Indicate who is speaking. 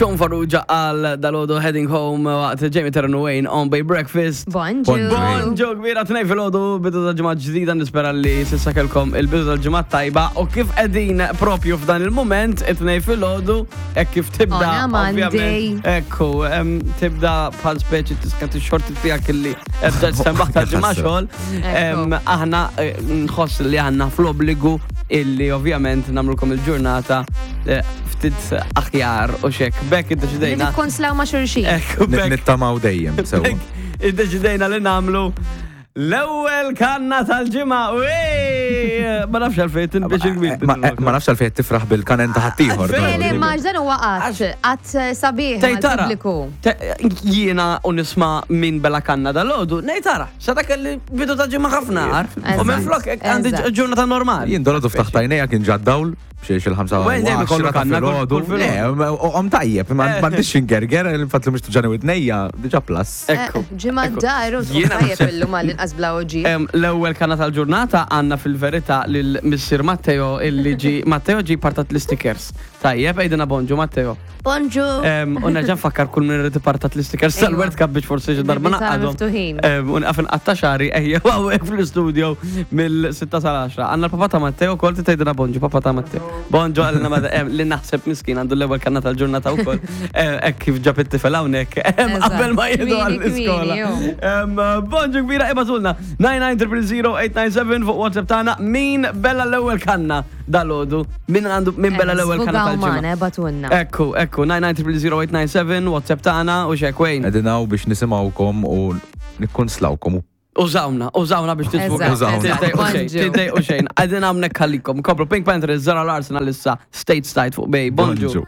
Speaker 1: Sean Farrugia għal dalodu Heading Home waqt Jamie Terran Wayne on Bay Breakfast.
Speaker 2: Bonġu.
Speaker 1: Bonġu kbira tnej fil-ħodu, bidu tal-ġimgħa ġdida nispera li sissa kelkom il-bidu tal-ġimgħa tajba u kif qegħdin propju f'dan il-moment it-tnej fil-ħodu hekk kif tibda.
Speaker 2: On a Monday.
Speaker 1: ovvjament, Ekku, em, tibda bħal speċi tiskat ix-xorti tiegħek illi ebda sembaħ tal-ġimgħa xogħol. Em, Aħna eh, nħoss li għandna fl-obbligu illi ovvjament nagħmlulkom il-ġurnata eh, ftit aħjar u xek. Bekk iddeċidejna.
Speaker 2: Nikkonslaw ma' xulxin.
Speaker 1: Ekku, bekk
Speaker 3: Nittamaw dejjem, sewa.
Speaker 1: Bekk iddeċidejna li nagħmlu l-ewwel kanna tal-ġimgħa. Wej! Ma nafx għalfejn tinbiex il-kbir.
Speaker 3: Ma eh, ma nafx għalfejn tifraħ bil-kanen ta' ħaddieħor.
Speaker 1: Għalfejn?
Speaker 2: Le, le, ma dan huwa qatt, qatt sabiħ
Speaker 1: Tejtara,
Speaker 2: mal-pubbliku.
Speaker 1: jiena u nisma minn bela kanna dal-ħodu, nejtara, sa dak li bidu ta' ġimgħa ħafna għar. U minn flok għandi
Speaker 2: Eżatt.
Speaker 1: ġurnata normali.
Speaker 3: Jien dolodu ftaħt għajnejja kien ġa dawl b'xiex il-ħamsa.
Speaker 1: Wejn dejjem ikollu kanna kull- kull filgħodu.
Speaker 3: Om tajjeb, ma m'għandix ingerger, il-fatt li mhux tuġani widnejja, diġà plus.
Speaker 1: Ekku.
Speaker 2: Ġimgħa d-dar u
Speaker 1: Jiena
Speaker 2: tajjeb
Speaker 1: naħseb-
Speaker 2: illum għall-inqas bla oġi.
Speaker 1: Em, L-ewwel kanna tal-ġurnata għandna fil-verità lil Missir Matteo illi ġi Matteo ġi partat l-stickers. Tajjeb, għidilna bonġu Matteo.
Speaker 4: Bonġu.
Speaker 1: Em, U nerġa' nfakkar kull min irid ipartat l-stickers tal-World Cup biex forsi xi darba
Speaker 2: Bibien tagħna
Speaker 1: naqadhom.
Speaker 2: miftuħin.
Speaker 1: Em, U nqaf inqatta' xagħri ejja hawnhekk fl-istudio mill-6 sal-10. Għandna l-papà ta' Matteo wkoll trid tgħidilna bonġu papà ta' Matteo. Bonġu għalina ma em, li naħseb miskin għandu l-ewwel kanna tal-ġurnata wkoll. Em, Hekk kif ġab it-tifel hawnhekk em,
Speaker 2: Eżatt.
Speaker 1: qabel ma jieħdu
Speaker 2: Kmieni,
Speaker 1: għall-iskola.
Speaker 2: kmieni, ju.
Speaker 1: Em, Bonġu kbira ibgħatulna 99000 897 fuq WhatsApp tagħna min bella l-ewwel kanna dalodu min għandu min bella l-ewwel kanna
Speaker 2: Sfugaw
Speaker 1: tal-ġimgħa.
Speaker 2: magħna, batunna.
Speaker 1: Ekku, ekku, 9900897, WhatsApp tagħna u xekwejn.
Speaker 3: Qegħdin hawn biex nisimgħukom u nikkonslawkom.
Speaker 1: Użawna, użawna biex tisfugaw.
Speaker 2: Eżatt,
Speaker 3: eżatt.
Speaker 1: Tiddejqu xejn,
Speaker 2: Bonġu.
Speaker 1: tiddejqu xejn. Qegħdin hawnhekk għalikom. Kopru Pink Panther, Zara Larson għalissa State Side fuq Bay. Bonġu.
Speaker 3: Bonġu.